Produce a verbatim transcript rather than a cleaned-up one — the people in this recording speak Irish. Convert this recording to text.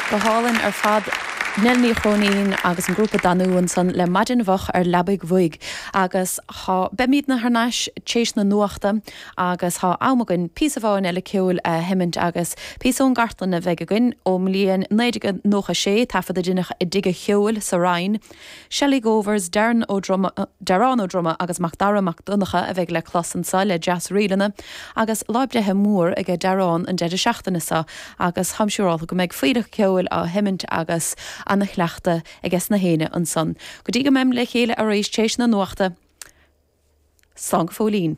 Go hálainn ar fad Nell Ní Chróinín agus an grúpa Danú ansan le maidin mhoch ar leabaidh bhoig agus tá beimidne thar n-ais tréis na nuachta agus tá am againn píosa amháin eile ceoil a sheimint agus píosa ón gcartlann a bheidh againn ón mbliain naoi déag nócha sé taifead a deineadh i dTigh an Cheoil sa Rinn. Shelley Govers, Darren Ó Droma, Darán Ó Droma agus Mac Dara Mac Donncha a bheidh le clos anseo le Deas-ríleanna agus lá breithe mór aige Darán an deireadh seachtaine seo agus táim siúrálta go mbeidh fuílleach ceoil á sheimint agus ana-chleachtadh aige sna héinne ansan. Go dtí go mbeim le chéile arís tréis na nuachta. Slán go fóillín.